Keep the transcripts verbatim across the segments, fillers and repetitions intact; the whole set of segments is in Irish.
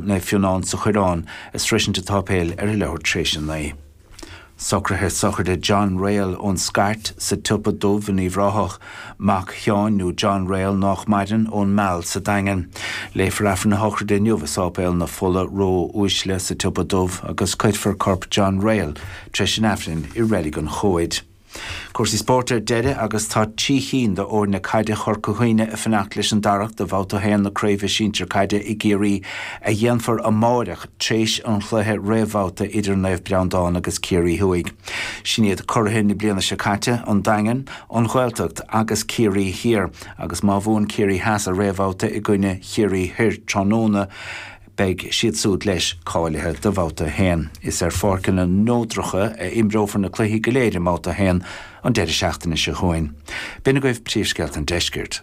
Naomh Fionán sa Choireán ag sroisint an tsáipéil ar a leathuair tar éis a naoi. Socruithe sochraide John Rail ón Scairt sa tSiopa Dubh in Uíbh Ráthach, mac Sheáin nó John Rail nách maireann ón Meal sa Daingean. Léifear Aifreann na sochraide inniu i Sáipéal na Fola Ró-Uaisle sa tSiopa Dubh agus cuirfear corp John Rail tar éis an Aifrinn i Reilig an Chomhaid. Cúrsaí spóirt ar deireadh agus tá trí chinn d'fhoirne caide Chorca Dhuibhne ag fanacht leis an Darach do bhabhta a haon na Craoibhe Sinsir Caide i gCiarraí a dhéanfar amáireach tréis an chluiche réamhbhabhta idir Naomh Breandán agus Ciarraí Thuaidh. Sin iad curaithe na bliana seo caite, an Daingean, an Ghaeltacht agus Ciarraí Thiar, agus má bhuann Ciarraí Theas a réamhbhabhta i gcoinne Chiarraí Thoir tráthnóna, beidh siad súd leis cáilithe do bhabhta a haon. Is ar pháirceanna neodracha a imreofar na cluichí go léir i mbabhta a haon an deireadh seachtaine seo chugainn. B'in agaibh príomhscéalta an deiscirt.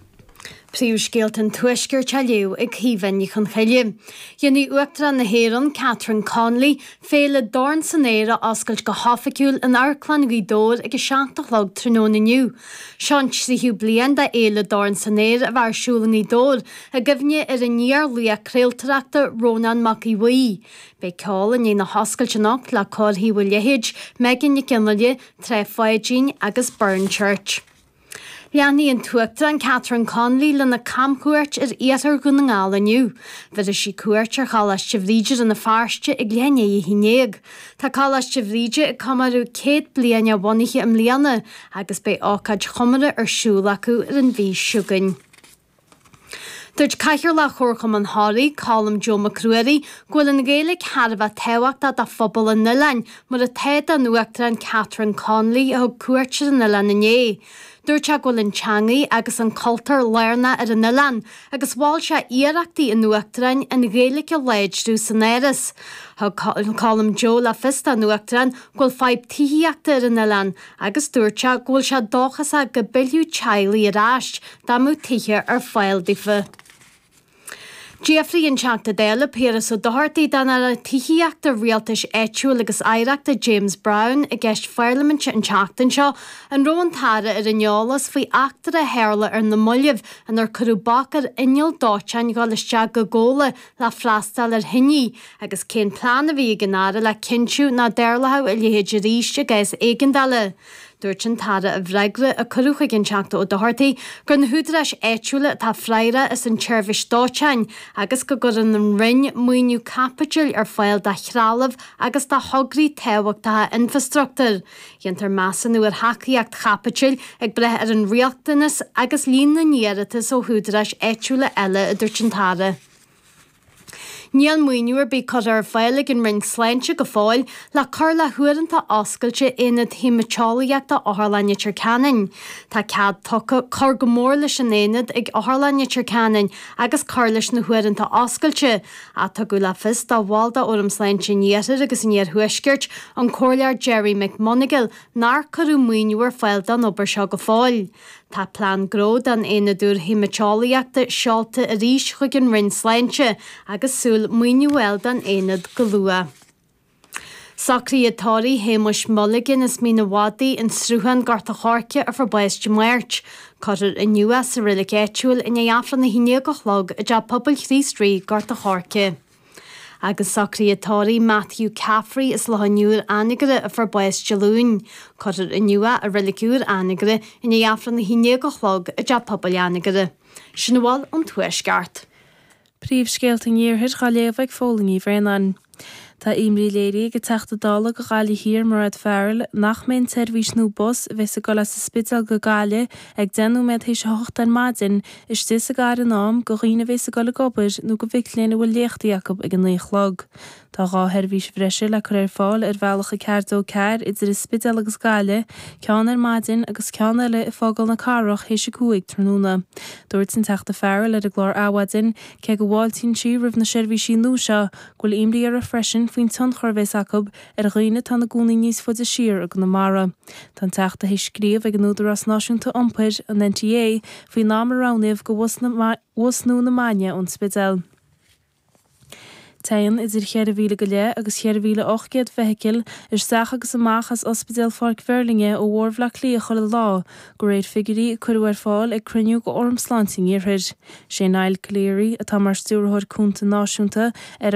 Príomhscéalta an Tuaiscirt á léamh ag Caoimhe Ní Chonchoille. Déanfaidh Uachtarán na hÉireann, Catherine Connolly, féile Dorn san Aer a oscailt go hoifigiúil in Amharclann Ghaoth Dobhair ag a seacht a chlog tráthnóna inniu. Seo an tríú bliain de Fhéile Dorn san Aer a bheith ar siúl i nGaoth Dobhair i gcuimhne ar an iar-laoch craoltóireachta Rónán Mac Aodha Bhuí. Beidh ceol i ndiaidh na hoscailte anocht le Cór Thaobh an Leithéid, Megan Nic Fhionnghaile, Trá Pháidín agus Burren Church. Leanfaidh an tUachtarán Catherine Connolly lena camchuairt ar iarthar Dhún na nGall inniu. Bhéarfaidh sí cuairt ar Choláiste Bhríde Rann na Feirste ag leath i ndiaidh a haon déag. Tá Coláiste Bhríde ag comóradh céad bliain a bhunaithe i mbliana agus beidh ócáid chomórtha ar siúl acu ar an mhí seo chugainn. Dúirt Cathaoirleach Chomharchumann Thoraí, Colm Joe Mac Ruairí, go bhfuil an Ghaeilge thar a bheith tábhachtach do phobal an oileáin, mar atá don Uachtarán Catherine Connolly a thug cuairt ar an oileán inné. Dúirt sé go bhfuil an teangaidh agus an cultúr lárnach ar an oileán agus mhol sé iarrachtaí an Uachtaráin an Ghaeilge a láidriú san Áras. Thug Colm Joe le fios don Uachtarán go bhfuil fadhb tithíochta ar an oileán agus dúirt sé go bhfuil sé dóchasach go bpillfeadh teaghlaigh ar ais dá mbeadh tithe ar fáil daofa. D'fhiafraigh an Teachta Dála Piaras Ó Dochartaigh den Aire Tithíochta, Rialtais Áitiúil agus Oidhreachta James Browne i gceist pharlaiminte an tseachtain seo an raibh an tAire ar an eolas faoi eachtra a tharla ar na mallaibh inar cuireadh bac ar inneall dóiteáin dhul isteach go Gabhla le freastal ar thine agus cén plean a bhí ag an Aire le cinntiú nach dtarlódh a leithéid arís i gcás éigeandála. Dúirt an tAire i bhfreagra a cuireadh chuig an Teachta Ó Dochartaigh gur na húdaráis áitiúla atá freagrach as an tseirbhís dóiteáin agus go gcuireann an Roinn maoiniú caipitil ar fáil do threalamh agus do thograí tábhachtacha infreastruchtúir. Déantar measúnú ar thacaíocht chaipitil ag brath ar an riachtanas agus líon na n-iarratas ó húdaráis áitiúla eile, a dúirt an tAire. Níl maoiniú ar bith curtha ar fáil ag an Roinn Sláinte go fóill le cur le huaireanta oscailte Aonad Haemaiteolaíochta Otharlann Leitir Ceanainn. Tá cead tugtha cur go mór leis an aonad ag Otharlann Leitir Ceanainn agus cur leis na huaireanta oscailte, ach tugadh le fios do bhall de Fhóram Sláinte an Iarthair agus an Iarthuaiscirt, an Comhairleoir Gerry McMonagall, nár cuireadh maoiniú ar fáil don obair seo go fóill. Tá plean gnó don Aonad úr Haemaiteolaíochta seolta arís chuig an Roinn Sláinte agus súil maoiniú a fháil don aonad go luath. Socruithe tórraimh Shéamuis Mulligan as Mín an Mhadaidh, An Sruthán, Gort a' Choirce a fuair bás Dé Máirt. Cuirfear inniu é sa reilig áitiúil i ndiaidh Aifreann a haon déag a chlog i dTeach Pobail Chríost Rí, Gort a' Choirce. Agus socruithe tórraimh Matthew Caffrey as Loch an Iúir, Anagaire a fuair bás Dé Luain. Cuirfear inniu é i Reilig Úr Anagaire i ndiaidh Aifreann a haon déag a chlog i dTeach Pobail Anagaire. Sin a bhfuil ón Tuaisceart. Príomhscéalta an Iarthair á léamh ag Fódhla Ní Bhraonáin. Tá imní léirithe ag an Teachta Dála do Ghaillimh Thiar, Mairéad Farrell, nach mbeidh an tseirbhís nua bus a bheas ag dul as an Spidéal go Gaillimh ag deich nóiméad théis a hocht ar maidin istigh sa gcathair in am do dhaoine a bheas ag dul ag obair nó do mhic léinn a bhfuil léachtaí acu ag a naoi a chlog. Tá dhá sheirbhís bhreise le cur ar fáil ar bhealach a ceathair dó ceathair idir an Spidéal agus Gaillimh, ceann ar maidin agus ceann eile ag fágáil na cathrach théis a cúig tráthnóna. Dúirt an Teachta Farrell ar an gclár Adhmhaidin, cé go bhfáiltíonn sí roimh na seirbhísí nua seo, go bhfuil imní uirthi freisin faoin tionchar a bheas acu ar dhaoine atá ina gcónaí níos faide siar i gConamara. Tá an Teachta théis scríobh ag an Údarás Náisiúnta Iompair, an NTA, faoin am a roghnaíodh do bhus nua na Maidne ón Spidéal. Téann idir cheithre mhíle go leith agus cheithre mhíle ocht gcéad feithicil isteach agus amach as Ospidéal Pháirc Mheirlinne ó Bhóthar Bhaile Átha Cliath chuile lá, de réir figiúirí a cuireadh ar fáil ag cruinniú de Fhóram Sláinte an Iarthair. Sé Niall Calleary, atá mar Stiúrthóir Cúnta Náisiúnta ar